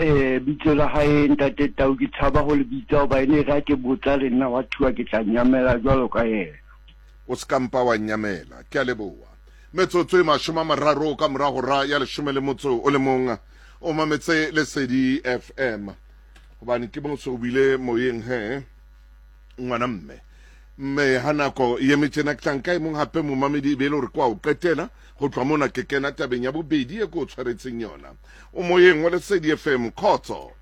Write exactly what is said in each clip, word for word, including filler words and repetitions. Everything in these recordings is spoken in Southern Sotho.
Eh bitso la hae ntate Tau ke tshaba ho le bitsa hoba ene re ke botsa le nna wa thuwa ke tla nyamela jwalo ka yena. O se ka mpa wa nyamela. Ke a leboha. Metsotso e mashome a mararo ka mora hora ya leshome le motso o le mong. O mametse Lesedi F M. Hobane ke mo so bile moyeng he ngwana mme. Mme ha nako e eme tjena ke tla nka e mong hape momamedi e be e le hore kwa o qetela ho tloha mona ke kena tabeng ya bobedi e ko o tshwaretseng yona. O moyeng wa Lesedi F M, khotso.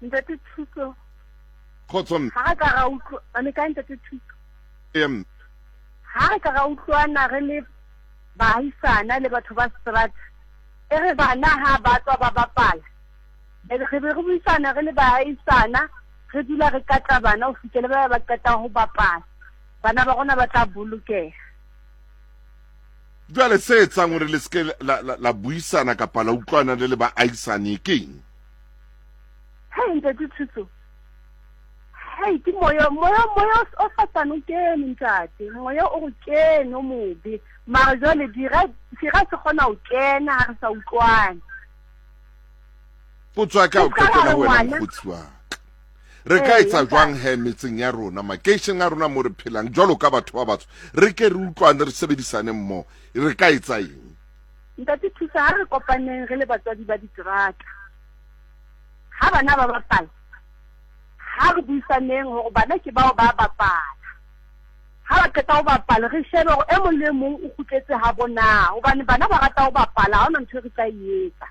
Ntate Thuso. Khotso mme. Ha re ka ra utlwa, a le kae ntate Thuso? Ee, mme. Ha re ka ra utlwana re le baahisana le batho ba strata, e re bana ha ba tswa ba bapala, e re be re buisana re le baahisana, re dula re katla bana ho fihlela ba ba qeta ho bapala. Bana ba rona ba tla bolokeha. Jwale se etsang hore le se ke la, la, la buisana kapa la utlwana le le baahisane ke eng? Hei, ntate Thuso. Hei, ke moya, moya, moya o Satane o kene, ntate. Moya o re kene o mobe. Mara jwale dira, dira se kgona ho kena ha re sa utlwane. Potso ya ka o Ke ska qetela ra ho wena, ngwana. mokgotsi wa ka. Re ka Ee, etsa ntate. jwang he metseng ya rona, makeisheneng a rona mo re phelang jwalo ka batho ba batsho, re ke re utlwane, re sebedisane mmoho, re ka etsa eng? Ntate Thuso, ha re kopaneng re le batswadi ba diterata, ha bana ba bapala, ha re buisaneng hore bana ke bao ba bapala. Ha ba qeta ho bapala, re shebe hore e mong le e mong o kgutletse ha bona, hobane bana ba rata ho bapala, ha hona ntho e re tla e etsa.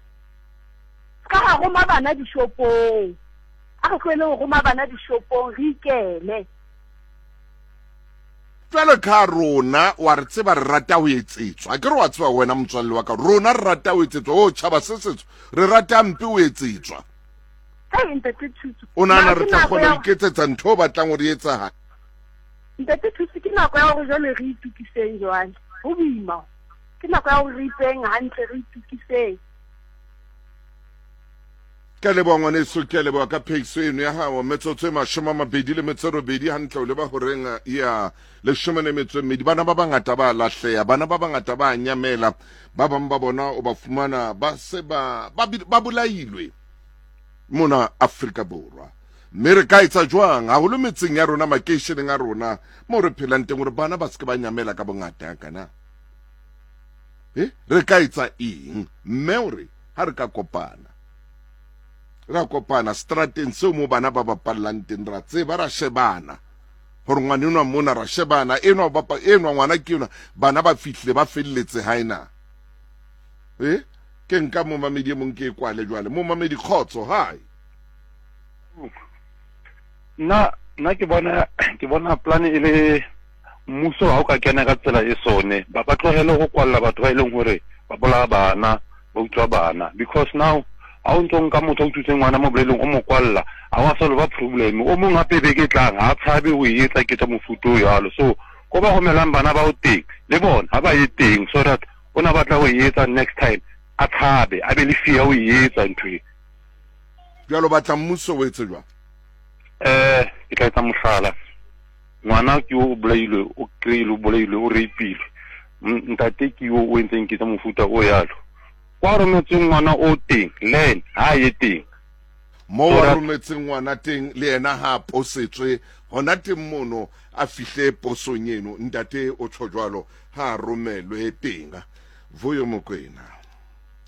Ka ha roma bana dishopong, a re tlohele ho roma bana dishopong, re ikele. Jwalo ka rona, wa re tseba re rata ho etsetswa. Akere wa tseba wena motswalle wa ka, rona re rata ho etsetswa. O tjhaba se setsho, re rata mpe ho etsetswa. Hei, ntate Thuso. O nahana Mara re ke tla nako kgona ya ho iketsetsa ntho o batlang hore e etsahale? Ntate Thuso, ke nako ya hore jwale re itukiseng jwale. Ho boima. Ke nako ya hore re ipeng hantle, re itukiseng. Ke a leboha ngwaneso, ke a leboha ka phehiso eno ya hao. Metsotso e mashome a mabedi le metso e robedi hantle o leba horeng ya leshome le metso e mmedi. Bana ba bangata ba lahleha, bana ba bangata ba nyamela, ba bang ba bona o ba fumana ba se ba, ba bi-, ba bolailwe mona Afrika Borwa. Mme re ka etsa jwang haholo metseng ya rona, makeisheneng a rona moo re phelang teng, hore bana ba se ke ba nyamela ka bongata kana? Eh, re ka etsa eng? Mme o re ha re ka kopana, ra kopana strateng seo mo bana ba bapallang teng, ra tseba, ra shebana hore ngwana enwa mona, ra shebana enwa o bapa, enwa ngwana ke enwa, bana ba fihlile ba felletse hae na? Eh, ke nka momamedi e mong ke e kwale jwale. Momamedi, kgotso, hi. Nna, nna ke bona, ke bona plan e le mmuso ha o ka kena ka tsela e sone, ba, ba tlohele ho kwalla batho ba e leng hore ba bolaya bana, ba utswa bana, because now ha o ntso nka motho a utswitseng ngwana mo boleleng o mo kwalla, ha wa solve problem. O mong hape beke e tlang ha tshabe ho e etsa ketso mofuta o jwalo. So ko ba romelang bana bao teng le bona ha ba ye teng, so that o na batla ho e etsa next time a tshabe, a be le fear ho e etsa ntho e. Jwalo batla mmuso o etse jwang? Eh, ke tla etsa mohlala. Ngwana ke o bolailwe, o kry-ile, o bolailwe, o rape-ilwe. M-, ntate ke yo o entseng ketso mofuta o yalo. Kwa rometseng ngwana o teng, le ena ha ye teng. Mo So wa that rometseng ngwana teng, le yena ha a posetswe hona teng mono, a fihle posong eno. Ntate o tjho jwalo, ha a romelwe teng. Vuyo Mokwena.